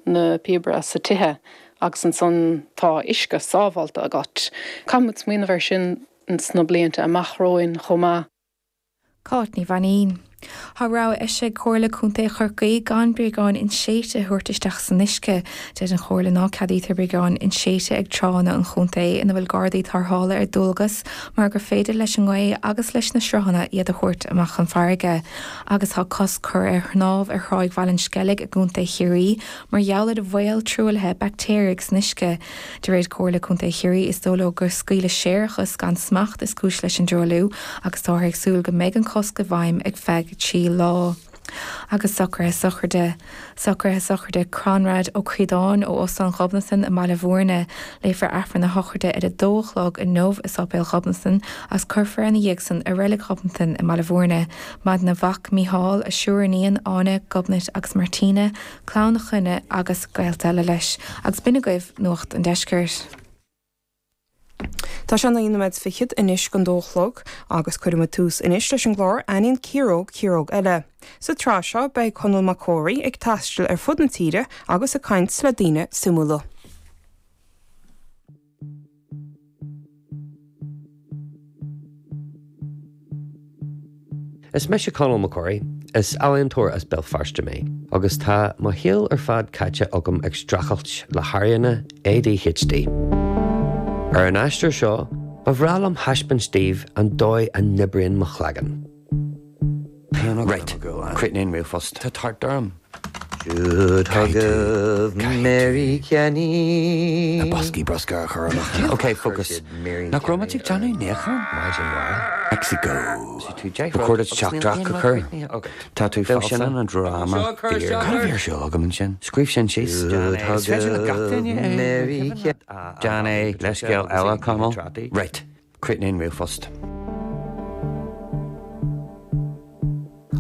na píobaire sa tithe agus ansan tá uisce sábhálta agat. Caithfidh muid smaoineamh air sin sna blianta amach romhainn chomh maith. Cáit Ní Mhainín. Tá rabhadh eisithe ag Comhairle Contae Chorcaí gan bréagáin inséidte a thabhairt isteach san uisce. Deir an Chomhairle ná ceadaítear bréagáin inséidte ag tránna an chontae ina bhfuil gardaí tarrthála ar dualgas mar gur féidir leis an ngaoth agus leis na sruthanna iad a thabhairt amach chun farraige. Agus tá cosc curtha ar shnámh ar Thráigh Bhaile an Sceilg i gContae Chiarraí mar gheall ar bhaol truaillithe baictéaraigh san uisce. De réir Comhairle Contae Chiarraí, is dóigh leo gur scaoileadh séarachas gan smacht is cúis leis an dtruailliú agus táthar ag súil go mbeidh an cosc i bhfeidhm ar feadh 3 lá. Agus socruithe sochraide. Socruithe sochraide Conrad Ó Críodáin ó Óstán Ghobnatan i mBaile Bhúirne. Léifear Aifreann na sochraide ar a dó a chlog inniu i Sáipéal Ghobnatan agus cuirfear ina dhiaidh san i Reilig Ghobnatan i mBaile Bhúirne. Maireann a mhac Mícheál, a triúr iníon, Áine, Gobnait agus Martina, clann a clainne agus gaolta eile leis. Agus b'in agaibh Nuacht an Deiscirt. Tá sé 9 nóiméad fichead anois don dó a chlog agus cuirfidh muid tús anois leis an gclár Aithníonn Ciaróg Ciaróg Eile. Sa tsraith seo beidh Conall Mac Comhraí ag taisteal ar fud na tíre agus ag caint le daoine suimiúla. Is mise Conall Mac Comhraí. Is ealaíontóir as Béal Feirste mé agus tá mo shaol ar fad caite agam ag streachailt le hairíonna ADHD. Ar an aistear seo, ba bhreá liom thaispeáint daoibh an dóigh a n-oibríonn mo chloigeann. Right, críochnaigh an ríomhphost. Tá tart orm. Caithfidh tú, caithfidh tú na boscaí bruscair a chur amach. Ok, focus. Nach raibh muid ag déanamh níocháin? Mexico. Ba chóir duit teachtaireacht a chur. Tá tú falsa. Sin an dráma fíor. Cad a bhí ar siúl agam ansin? Scríobh sin síos. Is féidir le gach duine é. Déan é. Leithscéal eile, Conall. Right. Críochnaigh an ríomhphost.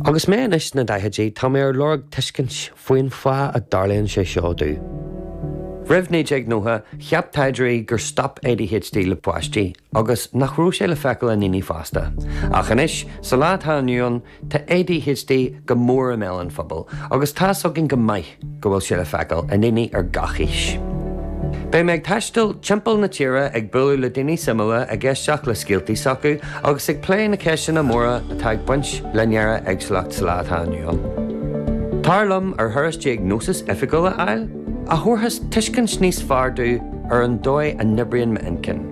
Agus mé anois sna daichidí, tá mé ar lorg tuiscint faoin fáth a dtarlaíonn sé seo domh. Roimh 1990, cheap taighdeoirí gur stop ADHD le páistí agus nach raibh sé le feiceáil i ndaoine fásta. Ach anois, sa lá atá inniu ann, Tá ADHD go mór i mbéal an phobail agus tá's againn go maith go bhfuil sé le feiceáil i ndaoine ar gach aois. Beidh mé ag taisteal timpeall na tíre ag bualadh le daoine suimiúla, ag éisteacht le scéaltaí s'acu agus ag plé na ceisteanna móra atá ag baint le néara-éagsúlacht sa lá atá inniu ann. Tar liom ar thuras diagnósis oifigiúil a fháil, a thabharfas tuiscint níos fearr domh ar an dóigh a n-oibríonn m'intinn,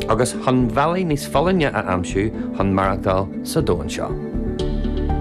agus chun bealaí níos folláine a aimsiú chun maireachtáil sa domhan seo.